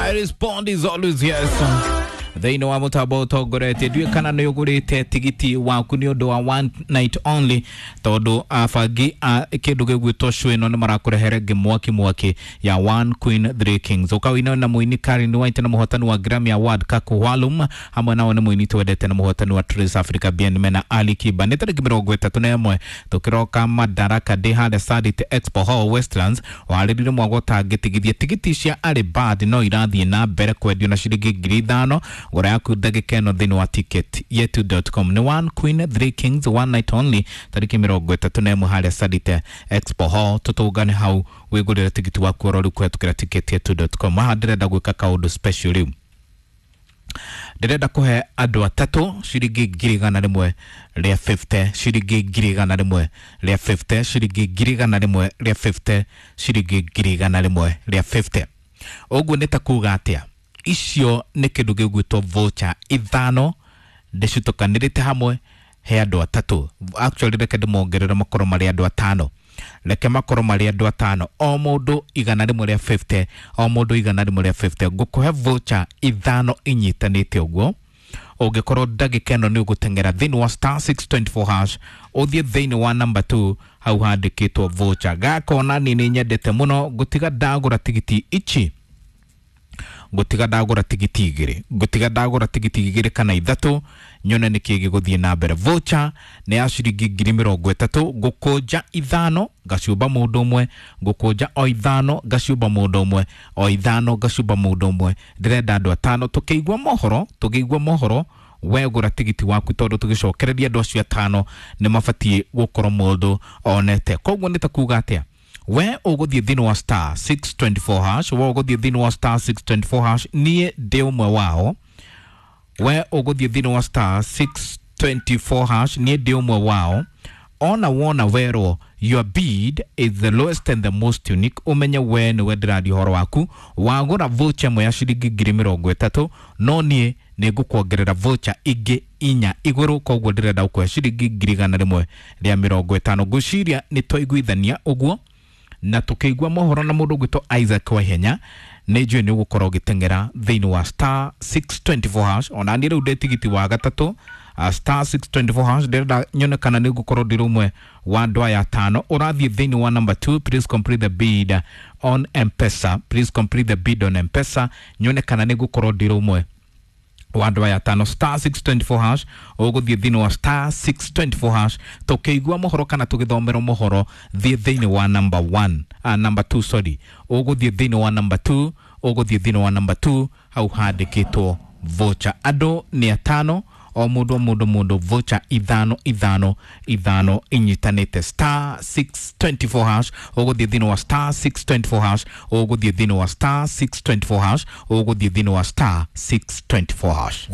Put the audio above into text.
I respond is always yes. Thĩinĩ wa mũtambo ũtongoretie ndiũĩ kana nĩ ũgũrĩte tigiti waku nĩ ũndũ wa one night only, tondũ abangi a kĩndũ gĩgwĩtwo show ĩno nĩ marakũrehere ngĩ mwaki ya One Queen Three Kings. Ũkawina na mũini Karen White na mũhotani wa Grammy Award Kaku Walum, hamwe nao nĩ mũini twendete na mũhotani wa Trace Africa Bien Mena Ali Kiba. Nĩ tarĩki 31 tũkĩroka Madaraka Day harĩa Sarit Expo Hall Westlands, warĩrire mwago ũtangĩtigithia. Tigiti cia Early Bird no irathiĩ na mbere kwendio na ciringi 5,000. Gũra yaku ndagĩka ĩno thĩinĩ wa ticket yetu.com. Nĩ One Queen Three Kings, one night only, tarĩki 31 harĩa Sarit Expo Hall. Tũtũngane hau wĩgũrĩre tigiti waku oro rĩu kũhetũkĩra ticket yetu.com. Haha ndĩrenda gwĩka kaũndũ special rĩu, ndĩrenda kũhe andũ atatũ ciringi 150,000, ciringi 150,000, ciringi 150,000, ciringi 150,000. Ũguo nĩ ta kuga atĩa? Icio nĩ kĩndũ gĩgwĩtwo voucher ithano ndĩcitũkanĩrĩte hamwe he andũ atatũ. Actually reke ndĩmongerere makorwo marĩ andũ atano, reke makorwo marĩ andũ atano, o mũndũ 150, o mũndũ 150. Ngũkũhe voucher ithano inyitanĩte ũguo. Ũngĩkorwo ndagĩka ĩno nĩ ũgũteng'era thĩinĩ wa star 624 hash, ũthiĩ thĩinĩ wa number 2 hau handĩkĩtwo voucher. Gakona niĩ nĩ nyendete mũno, ngũtiga ndagũra tigiti ici, ngũtiga ndagũra tigiti igĩrĩ, ngũtiga ndagũra tigiti igĩrĩ kana ithatũ, nyone nĩkĩ gĩgũthiĩ na mbere. Voucher nĩ ya ciringi 30,000, ngũkũnja ithano ngaciũmba mũndũ ũmwe, ngũkũnja o ithano ngaciũmba mũndũ ũmwe, o ithano ngaciũmba mũndũ ũmwe. Ndĩrenda andũ atano. Tũkĩigua mohoro, tũkĩigua mohoro we gũra tigiti waku, tondũ tũgĩcokereria andũ acio atano nĩ mabatiĩ gũkorwo mũndũ onete. Koguo nĩ ta kuga atĩa? We ũgũthiĩ thĩinĩ wa star 624 hash, we ũgũthiĩ thĩinĩ wa star 624 hash, niĩ ndĩ ũmwe wao. We ũgũthiĩ thĩinĩ wa star 624 hash, niĩ ndĩ ũmwe wao. Ona wona werwo your bid is the lowest and the most unique, ũmenye we nĩwe ndĩraria ũhoro waku. Wagũra voucher ĩmwe ya ciringi 30,000, no niĩ nĩ ngũkuongerera voucher ingĩ inya igũrũ, koguo ndĩrenda gũkũhe ciringi 150,000. Ngwĩciria nĩ twaiguithania ũguo na tukĩigua mohoro na mũndũ ũgwĩtwo Isaac Waihenya, nĩ njũĩ nĩ ũgũkorwo ũgĩteng'era thĩinĩ wa star 624 hash. Ona niĩ rĩu ndĩ tigiti wa gatatũ, star 624 hash. Ndĩrenda nyone kana nĩ ngũkorwo ndĩ ũmwe wa andũ aya atano. Ũrathiĩ thĩinĩ wa number 2, please complete the bid on M-Pesa, please complete the bid on M-Pesa, nyone kana nĩ ngũkorwo ndĩ ũmwe wa andũ aya atano. Star 624 hash, ũgũthiĩ thĩinĩ wa star 624 hash, tũkĩigua mohoro kana tũgĩthomerwo mohoro, thiĩ thĩinĩ wa number 1, number 2, sorry, ũgũthiĩ thĩinĩ wa number 2, ũgũthiĩ thĩinĩ wa number 2 hau handĩkĩtwo voucher. Andũ nĩ atano, o mũndũ o mũndũ mũndũ voucher ithano ithano ithano inyitanĩte. Star 624 hash, ũgũthiĩ thĩinĩ wa star 624 hash, ũgũthiĩ thĩinĩ wa star 624 hash, ũgũthiĩ thĩinĩ wa star 624 hash.